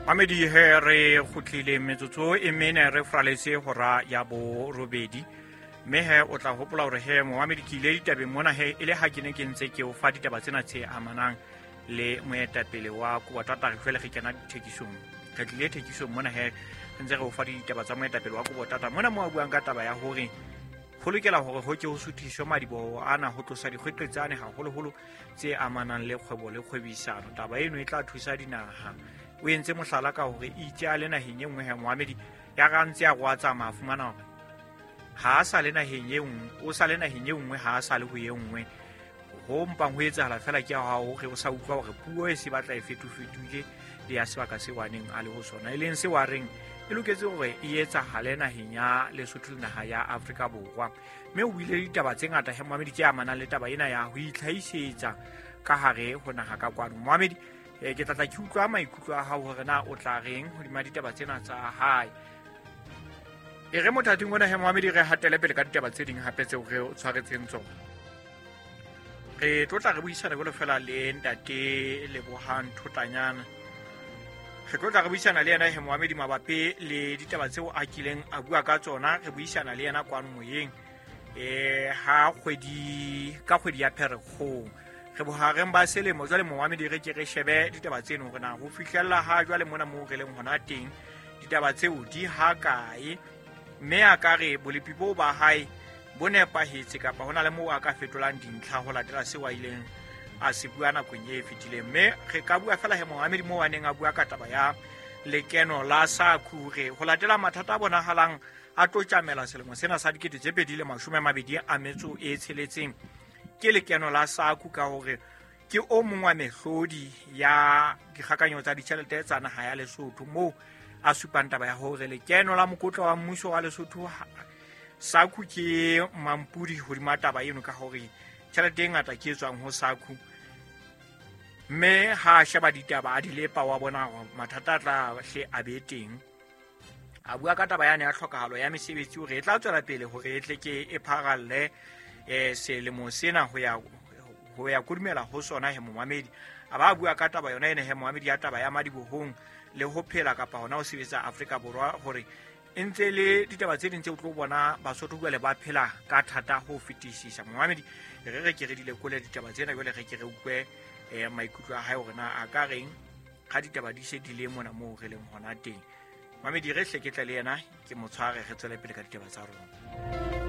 Mamedi, he re kgutlile metsotso e mene re fraletse hora ya borobedi, mme he o tla hopola hore he momamedi ke ile ditabeng mona he e le ha ke ne ke ntse ke o fa ditaba tsena tse amanang le moetapele wa Kobotata. Re jwale re kena dithekisong, re tlile thekisong mona he re ntse re o fa ditaba tsa moetapele wa Kobotata mona mo a buang ka taba ya hore go lokela hore ho ke ho suthiswe madiboho ana ho tlosa dikgweqetsane haholoholo tse amanang le kgwebo le kgwebisano. Taba eno e tla thusa dinaha. O entse mohlala ka hore itse a le naheng e nngwe he moamedi ya ga ntse a go a tsamaya a fumana hore ha a sa le naheng e nngwe, o sa le naheng e nngwe, ha a sa le ho e nngwe. Ho mpang ho etsahala fela ke ha hore o sa utlwa hore puo e se batla e fetofetoile le ya sebaka seo a neng a le ho sona, e leng seo a reng e loketse hore e etsahale naheng ya Lesotho le naha ya Afrika Borwa. Mme o buile ditaba tse ngata he moamedi tse amanang le taba ena ya ho itlhahisetsa ka hare ho naha ka kwano. Moamedi, ke tlatla ke utlwa maikutlo a hao hore na o tla reng hodima ditaba tsena tsa hae. E re mothating ona he moamedi re hatele pele ka ditaba tse ding hape tseo re o tshwaretseng tsona. Re tlo tla re buisana jwalo fela le ntate Lebohang Thotanyana. Re tlo tla re buisana le yena he moamedi mabapi le ditaba tseo a kileng a bua ka tsona. Re buisana le yena kwano moyeng ha kgwedi ka kgwedi ya Pherekgong, re bohareng ba selemo jwale moamedi. Re ke re shebe ditaba tseno hore na ho fihlella ha jwale mona moo re leng hona teng ditaba tseo di ha kae, mme a ka re bolepi boo ba hae bo nepahetse kapa ho na le moo a ka fetolang dintlha ho latela seo a ileng a se bua nakong e fetileng. Mme re ka bua fela he moamedi moo a neng a bua ka taba ya lekeno la SACU, re ho latela mathata a bonahalang a tlo tjamela selemo sena sa 2026 ke lekeno la SACU, ka hore ke o mong wa mehlodi ya dikgakanyo tsa ditjhelete tsa naha ya Lesotho, moo a supang taba ya hore lekeno la mokotla wa mmuso wa Lesotho SACU ke mampudi hodima taba eno, ka hore tjhelete e ngata ke e tswang ho SACU. Mme ha a sheba ditaba a di lepa wa bona hore mathata a tla hle a be teng. A bua ka taba yane ya tlhokahalo ya mesebetsi hore e tla tswela pele hore e tle ke e pharalle selemo sena ho ya kodumela ho sona he momamedi. A ba bua ka taba yona ene he momamedi ya taba ya madibohong le ho phela kapa hona ho sebetsa Afrika Borwa, hore e ntse le ditaba tse ding tse o tlo bona Basotho jwale ba phela ka thata ho fetisisa. Momamedi, re re ke re di lekole ditaba tsena jwale, re ke re utlwe maikutlo a hae hore na a ka reng ga ditaba di se di le mona moo re leng hona teng. Mamedi, re hle ke tle le yena ke mo tshware, re tswele pele ka ditaba tsa rona.